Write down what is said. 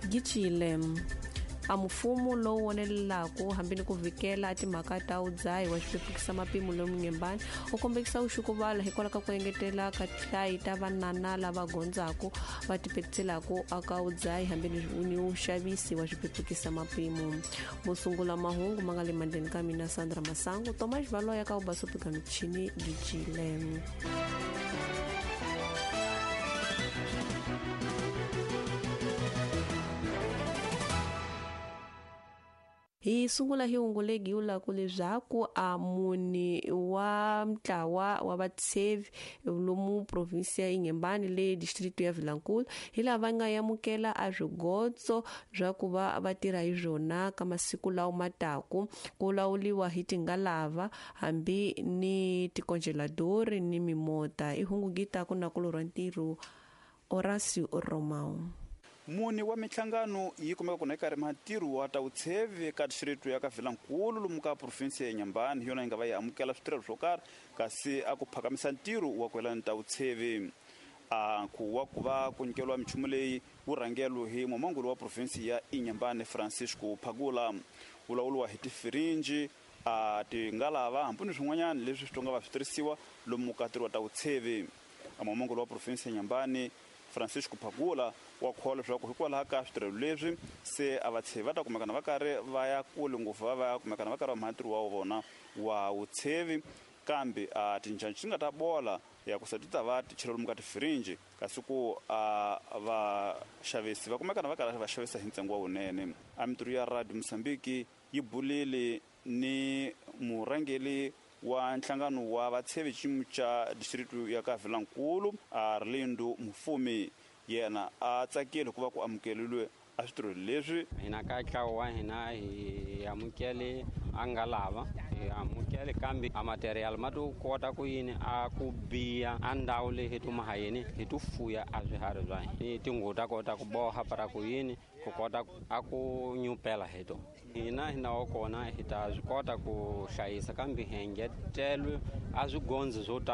Gicile a mfumo lowu wonelelaku hambi ni ku vikela timhaka ta udzayi wa xipepukisa mapimo lomu Nyembani u kombekisa uxukuvala hikwalaho ka ku engetela ka tihlayi ta vanana lava gondzaku va tipetiselaka aka udzayi hambi ni uxavisi wa xipepukisa mapimo. Musungula mahungu ma nga le mandleni ka mina Sandra Masangu, Tomas Valoya ka ubasopika michini Gicile. Hi sungula hi hungu legi vulaku leswaku a muni wa ntlawa wa vatshevi lomu provinsi ya Inhambane le distrito ya Vilankulu hi lava nga amukela a swigotso bya ku va va tirha hi swona ka masiku lawa mataku ku lawuliwa hi tingalava hambi ni tikonjeladori ni mimota. I hungu gita ku na kulorwa ntirho Horacio Romao. Muni wa minhlangano yi kumeka kona eka rima ntirho wa ta vutshevi ka distrito ya ka Vilankulu lomu ka provinsi ya Inhambane hi yona yi nga va yi amukela switirhelo swo karhi kasi a ku phakamisa ntirho wa ku yelana ta vutshevi. A ku wa ku va ku nyikeriwa minchumu leyi wu rhangelo hi mumanguli wa provinsi ya Inhambane Francisco Phagula, wu lawuriwa hi tifirinji a tingalava hambi ni swin'wanyana leswi swi nga va swi tirhisiwa lomu ka ntirho wa ta vutshevi. A mumanguli wa provinsi ya Inhambane Francisco Phagula wa kholwa leswaku hikwalaho ka switirhelo leswi se a vatshevi va ta kumekana va karhi va ya kule ngopfu va va kumekana va karhi va mhana ntirho wa vona wa vutshevi, kambe a tinjhanji ti nga ta bola ya ku se ti ta va ti chela lomu ka tifirinji kasi ku a vaxavisi va kumekana va karhi va xavisa hi ntsengo wa wunene. A mintirho ya Radio Mozambique yi bulile ni murhangeri wa nhlangano wa vatshevi xiyimo xa distrito ya ka Vilankulu Arlindo Mufumi, yena a tsakile ku va ku amukeriwe a switirho leswi. Hina ka ntlawa wa hina hi amukele a nga lava hi amukele kambe a material ma to kota ku yini a ku biya a ndhawu leyi hi tuma ha yini hi to fuya a swiharhi swa hina ni tinguvu ta kota ku boha para ku yini ku kota a ku nyupela hi to. Hina hi na wa kona hi ta swi kota ku hlayisa kambe hi engetelwe a swigondzi swo tala.